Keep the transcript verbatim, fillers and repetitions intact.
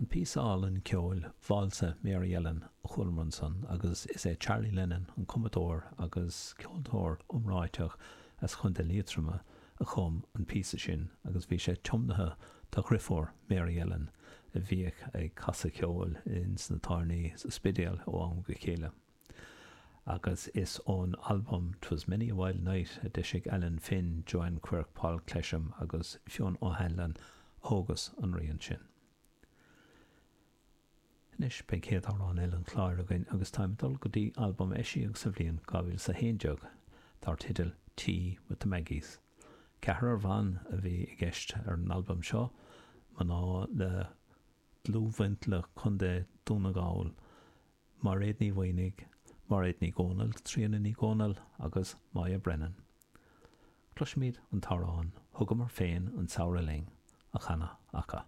An píosa álainn ceoil Válsa Mary Ellen a chualamar ansan agus is é Charlie Lennon an cumadóir agus ceoltóir iomráiteach as Chontae Liatroma a chum an píosa sin agus bhí sé tiomnaithe dá dheirfiúr Mary Ellen a bhíodh ag casadh ceoil ins na tábhairní sa Spidéal ó am go chéile. Agus is ón albam 'Twas Many a Wild Night a d'eisigh Alan Finn, Joanne Quirke, Paul Clesham agus Fionn O'Hanlon a thógas an rian sin. Anois beidh céad amhrán eile an chláir againn agus táim ag dul go dtí albam a eisíodh sa bhliain dhá mhíle is a haon déag dar teideal Tea with the Maggies. Ceathrar ban a bhí i gceist ar an albam seo, mná le dlúthbhaint le Contae Dhún na nGall, Mairéad Ní Mhaonaigh, Mairéad Ní Dhomhnaill, Tríona Ní Dhomhnaill agus Moya Brennan. Cloisfimid an t-amhrán 'Thugamar Féin an Samhradh Linn' á chanadh acu.